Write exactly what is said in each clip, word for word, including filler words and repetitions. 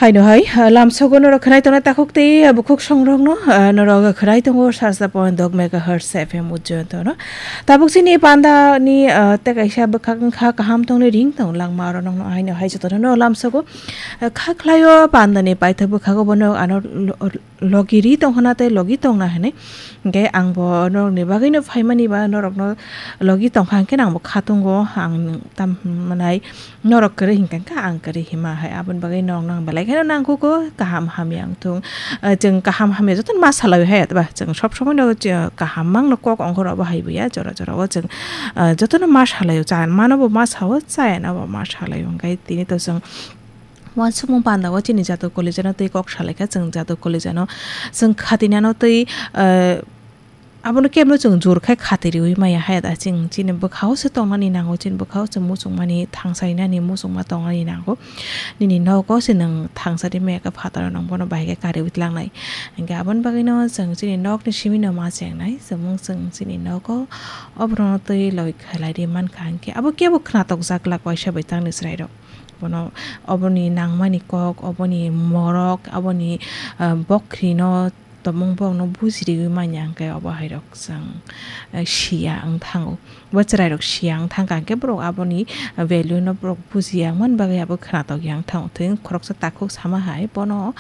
Haino hai, ah, lamsogo norok khwnai tongna takhuk tei, ah, bukhuk songrokno, ah, norok khwnai tongo sarsa point dok megahertz F M Ujjayanto no. Tabuk chini panda ni, ah, tei kaisa bwkhak wngkha kaham tongni ring tong langma oro nokno haino hai jotono no lamsogo, ah, kha khlaio panda ni paithak bwkhago bono ano lo-, logi ri tongkhana tei logi tongna hinwi. Hwnkhe ang bo norokni bagwino phaimani ba norokno logi tongkha hwnkhe ang bo khatungo ang tam manai. Norok kwrwi hinkha khe ang kwrwi hima hai, aboni bagwi norok nang belai kheno nangkukgo kaham hamya wngthung. Ah, chwng kaham hamya jotono ma salai hai, ba chwng sob somoi no kaham mangno kok ongkhorok bo hai buya, jora jora o chwng, ah, jotono ma salai o, cha mano bo ma sao, chaya no bo ma salai o, hwnkhe tini to chwng uansukmung panda o chini jato college no twi kok salai kha, chwng jato college no chwng khatinano twi, ah, Abono kebno chwng jor khai khatiriwi maya hai da, chwng chini bwkhao se tongnani nango, chini bwkhao se muchungmani thangsainani muchungma tongnani nango. Nini nogo se nwng thangsari maya khe phataro nwng bono bahai khe kariwi tlangnai. Hwnkhe aboni bagwino chwng chini nokni simino ma chengnai, chwng chwng chini nogo oborokno twi loi khlai ri mankha, hwnkhe abo kebo khnatok jak glak waisa bai tangni chwrairok. Bono oboni nangmani kok, oboni morok, aboni, ah, bokhri no, tongmung borokno bujiriwi manya hwnkhe obo hairok chwng, eh, siya wng thango. Bo chwrairok siya wng thangkha hwnkhe borok aboni value no borok bujiya wngmani bagwi abo khwnatok ya wng thango. Tei khoroksa takhuk sama hai bono,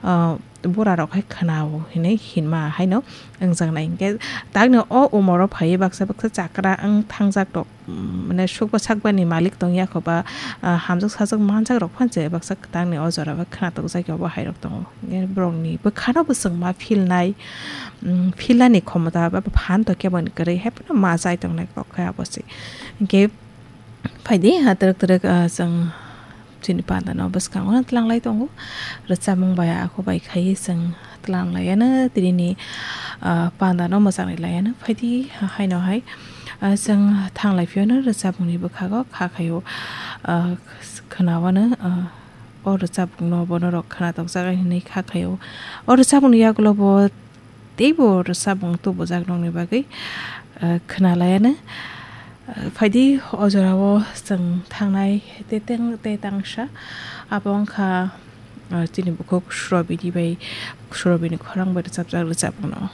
ah, burarok hai khwnao hinwi hinma haino wngjaknai. Hwnkhe takni o umoro phaiwi baksa baksa chakra wng thangjak rok. Mm, mane sukba sakbani malik tongya kho ba, ah, hamjak sajak manjak rok phan je baksa kwtangni o jora o khwnatok jak ya bo hai rok tongo. Nge borokni bwkhano bo chwng ma feel nai, mm, feel ani khomota ba phan to kebo ni kwrwi hai phano ma chai tongnai kok khe abo se. Hwnkhe phaidi, ah, twrwk twrwk, ah, chwng chini panda no bwskango no tlanglai tongo. Rwchapmung bai akho bai khai chwng tlang laiano, tini ni, ah, panda no mwchang ri laiano. Phaidi haino hai, ah, chwng thanglai phiyano rwchapmung ni bwkhago kha khaio, ah, khwnawano, ah, o rwchapmung no bono rok khwnatok jak hinwi kha khaio. O rwchapmung ni yagulo bo teibo rwchapmung tubujak nokni bagwi, ah, khwnalaiano. Ah, phaidi o jorao chwng thangnai tei tang-, tei tangsa abo wngkha, ah, chini bukhuk Surabini bai, Surabini khorang bai rwchapjak rwchapmung no.